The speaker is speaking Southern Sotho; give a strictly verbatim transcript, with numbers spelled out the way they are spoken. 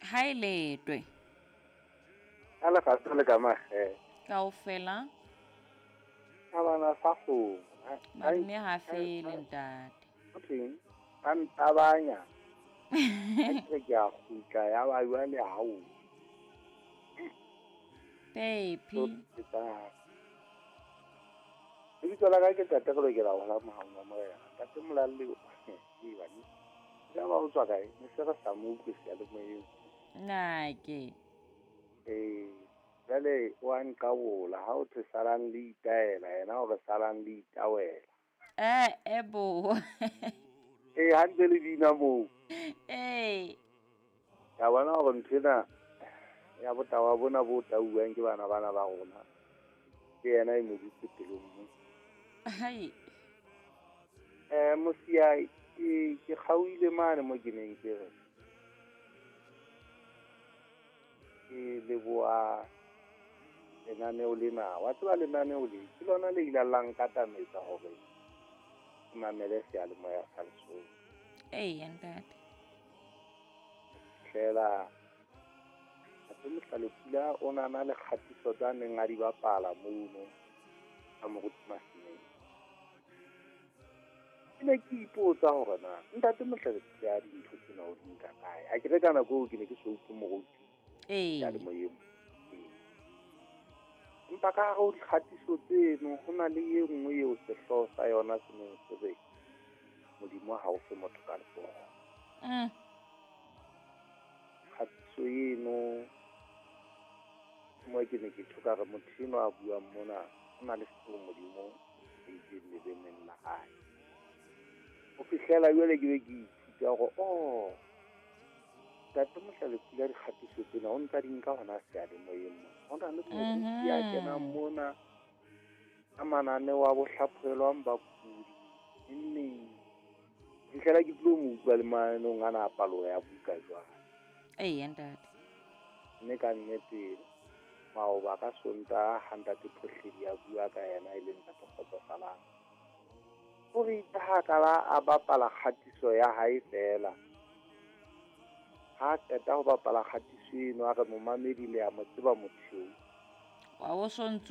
Ha e letwe. Ka lerato le ka makgethe. Kaofela. Ka bana sa kgomo. Madume ha fele ntate. Ho thweng? Ba ntabanya. Ha ke re ke a kgutla ya ba jwale ha o. Pepi. Lebitso la ka ke Ntate re lokela ho hola mohaung wa Morena. Ntate Molalle o e bane. Ya ba o tswa kae? Ne se re sa mo utlwe seyalemoyeng. Nake. Eh, jwale o a nqabola ha o thwe salang le itaela yena o re salang le itawela. Eh, e bo. Eh, ha ntse le bina moo. Eh. Ya bona hore ntho ena ya botawa bona bo tauwang ke bana bana ba rona. Ke yena e mo dutse pelong mo. Hai. Eh, Mosia ke ke kgaohile mane mo ke neng ke re. Ke leboha lenaneo lena. Wa tseba lenaneo le ke lona le ile la nkatametsa hore ke mamele seyalemoya sa Lesotho. Eya ntate. Fela Ntate Mohlalefula o na na le kgatiso tsa neng a di bapala mono ka Moruti Masimeng. Ke ne ke ipotsa hore na Ntate Mohlalefula a dintho tsena o di nka kae. Ha ke re ka nako eo ke ne ke so utlwe moruti Ee. seyalemoyeng. Empa ka hare ho dikgatiso tseno ho na le e nngwe eo sehlooho sa yona se neng se re Modimo ha o fe motho ka letsoho. Mm. Kgatiso eno mo ke ne ke tjho ka re motho enwa a buang mona o na le seo Modimo a itseng lebeneng la hae. Ho fihlela jwale ke be ke ithuta hore oh Ntate Mohlalefula dikgatiso tsena o ntsa di nka hona seyalemoyeng mona. Ho na le moruti ya kenang mona ka mananeo a bo hlaphohelwang bakudi neng. Fihlela ke tlo mo utlwa le mananeng ana a palo ya buka jwale. Eya ntate. Mme ka nnete maoba ka Sontaha ha Ntate Phohledi a bua ka yena e leng Ntate Kgotsofalang. O re itse ha ka ba a bapala kgatiso ya hae feela. Ha qeta ho bapala kgatiso eno a re momamedi le a mo tseba motho eo. Wa o sontso